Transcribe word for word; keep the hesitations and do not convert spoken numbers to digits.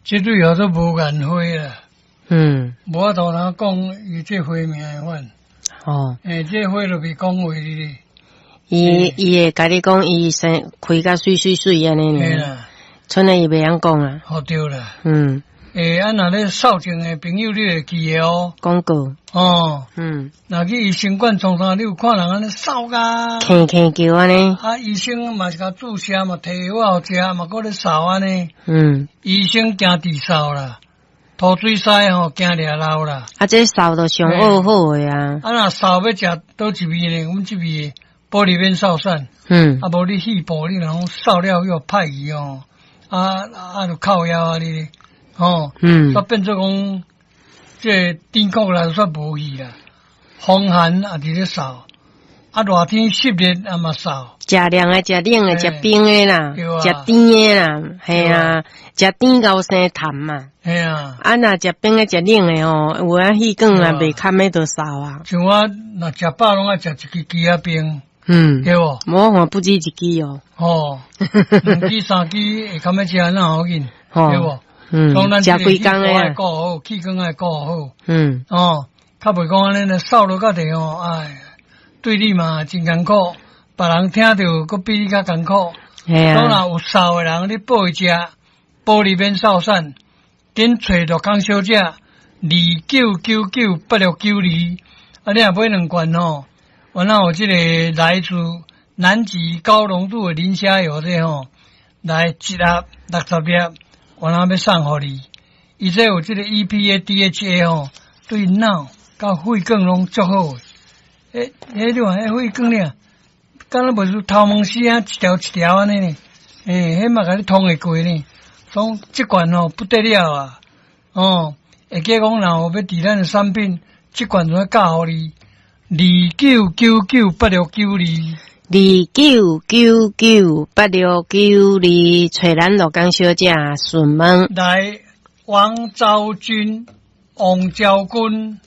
這對叫做無顏花啦。嗯。無法度通講伊這花名的款。哦。欸，這花就袂講話哩。伊伊會共你講，伊生開甲媠媠媠按呢爾。賰呢伊袂曉講啊。好對啦。嗯。欸，啊，若咧掃症的朋友，你會記得哦。廣告。哦。嗯。若去醫生館創啥，你有看人按呢掃甲？輕輕叫按呢。啊，醫生嘛是共注射嘛，提藥予食嘛，閣咧掃按呢。嗯。醫生驚治掃啦，塗水師吼驚掠漏啦。啊，這掃就上好好的啊。啊，若掃欲食佗一味呢？阮這味保利免掃散。嗯。啊，無你肺部你若講掃了予歹去哦，啊啊，就靠腰啊你。哦，嗯，煞變做講，這個甜苦啦煞無去啦，風寒也佇咧掃，啊熱天濕熱也嘛掃。食涼的、食冷的、食冰的啦，食甜的啦，嘿啊，食甜𠢕生痰嘛。嘿啊，啊若食冰的、食冷的吼，有影氣管啊袂堪的就掃啊。像我若食飽攏愛食一支枝仔冰，嗯，對無？我看不止一支哦。哦，兩支三支會堪欲食那好緊，對無？嗯，食規工的愛顧好，氣管愛顧好。嗯，哦，較袂講按呢，掃落較濟吼，哎，對你嘛真艱苦，別人聽著閣比你較艱苦。嘿啊。所以若有掃的人，你報伊食，保利免掃散，緊揣樂康小姐，二九九九八六九二，啊，你若買兩罐吼，原來有這個來自南極高濃度的磷蝦油這吼，來一盒六十粒。我若欲送予你，伊這有這個 E P A D H A 吼，對腦佮血管攏足好的。欸欸，你看彼血管爾，敢若袂輸頭毛絲仔一條一條按呢呢？欸，彼嘛共你通會過呢。所以這罐吼不得了啊！哦，會記講若有欲佇咱的產品，這罐就教予你，二九九九八六九二。二九九九八六九二，揣咱樂江小姐詢問。來，王昭君，王昭君。